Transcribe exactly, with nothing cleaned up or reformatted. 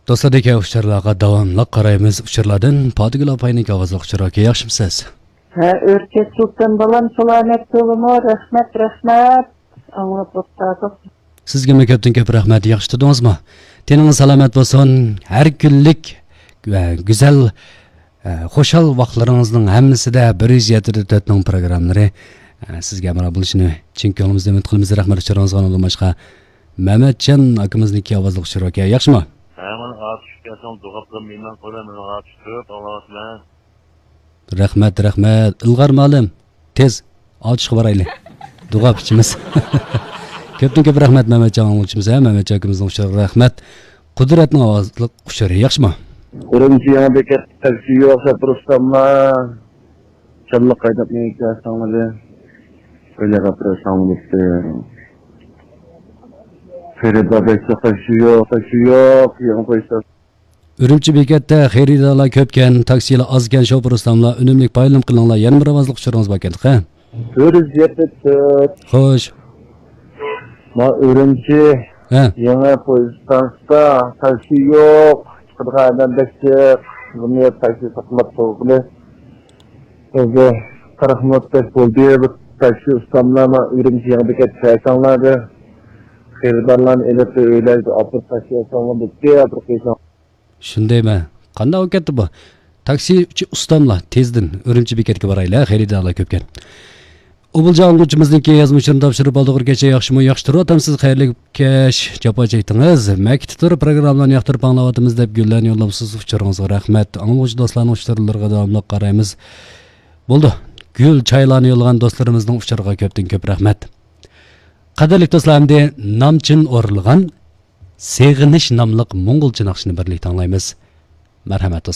دوستلاردىكى ئۇچۇرلارغا داۋاملىق قارايمىز. ئۇچۇرلاردىن پاتىگۈل ئاپاينىڭكى ئاۋازلىق ئۇچۇرى. ئاكا، ياخشىمۇسىز؟ ھە، ئۆركەش سۇلتان بالام، سالامەت بولۇڭ. رەھمەت، رەھمەت. ئاڭلاپ ئولتۇردۇق. سىزگىمۇ كۆپتىن كۆپ رەھمەت. ياخشى تۇردىڭىزمۇ؟ تېنىڭىز سالامەت بولسۇن. ھەر كۈنلۈك ۋە گۈزەل، ئە، خۇشال ۋاقىتلىرىڭىزنىڭ ھەممىسىدە بىر يۈز يەتتە نۇقتا تۆتنىڭ پروگراممىلىرى، ئە، سىزگە ھەمراھ بولۇشىنى چىن كۆڭلىمىزدىن ئۈمىد قىلىمىز. رەھمەت ئۇچۇرىڭىزغا. ئۇنىڭدىن باشقا مەمەتجان ئاكىمىزنىڭكى ئاۋازلىق ئۇچۇرى. ئاكا، ياخشىمۇ؟ ھە، مانا ئاتۇشقا كەلسەڭ، دۇغاپلا مېنىڭ قولى، مېنىڭ ئاتۇشتۇرۇپ ئاڭلاۋاتىمەن. رەھمەت، رەھمەت. ئىلغار مۇئەللىم، تېز ئاتۇشقا بارايلى. دۇغاپ ئىچىمىز. كۆپتىن كۆپ رەھمەت مەمەتجان ئاڭلىغۇچىمىز، ھە، مەمەتجان ئاكىمىزنىڭ ئۇچۇرىغا رەھمەت. قۇدرەتنىڭ ئاۋازلىق ئۇچۇرى، ياخشىمۇ؟ ئۈرۈمچى يېڭى بېكەت تاكسى يوق، شوپۇر ئۇستاملار. چاللىق ھەيدەپ مېڭىپ كەلسەڭلار. ئۆيلەرگە ئاپىرىپ ساڭلىتتى. خېرىدار بەك تاكسى يوق، تاكسى يوق، يېڭى پويىز. ئۈرۈمچى بېكەتتە خېرىدارلار كۆپكەن، تاكسىلار ئازكەن، شوپۇر ئۇستاملار، ئۈنۈملۈك پايدىلىنىپ قېلىڭلار. يەنە بىر ئاۋازلىق ئۇچۇرىڭىز باركەن تېخى. بىر يۈز يەتتە تۆت. خوش. ما ئۈرۈمچى. ھە. يېڭى پويىز ئىستانسىسىدا تاكسى يوق. چىقىدىغان ئادەم بەك جىق. بۇنى تاكسى ساقلاپ تۇرغىلى. ئۆزى قىرىق مىنۇتتەك بولدى. بۇ تاكسى ئۇستاملار ما ئۈرۈمچى يېڭى بېكەتكە كەلسەڭلار دە. خېرىدارلارنى ئېلىپ ئۆيلەرگە ئاپىرىپ تاشلىۋەتسەڭلار بولدى. ئاپىرىپ قويساڭ. شۇندايمۇ؟ قانداق بولۇپ كەتتى بۇ؟ تاكسىچى ئۇستاملار، تېزدىن ئۈرۈمچى بېكەتكە بارايلى، خېرىدارلار كۆپكەن. ئوبۇلجان ئاڭلىغۇچىمىزنىڭكى يازما ئۇچۇرىنى تاپشۇرۇپ ئالدۇق. بىر كەچ ياخشىمۇ؟ ياخشى تۇرۇۋاتامسىز؟ خەيرلىك كەچ، جاپا چەكتىڭىز. مەكىتتە تۇرۇپ پروگراممىلارنى ياقتۇرۇپ ئاڭلاۋاتىمىز دەپ گۈللەرنى يوللاپسىز. ئۇچۇرىڭىزغا رەھمەت. ئاڭلىغۇچى دوستلارنىڭ ئۇچۇرلىرىغا داۋاملىق قارايمىز. بولدى. گۈل چايلارنى يوللىغان دوستلىرىمىزنىڭ ئۇچۇرىغا كۆپتىن كۆپ رەھمەت. قەدىرلىك دوستلار، ئەمدى نامچىن ئورۇنلىغان سېغىنىش ناملىق موڭغۇلچە ناخشىنى بىرلىكتە ئاڭلايمىز. مەرھەمەت دوستلار.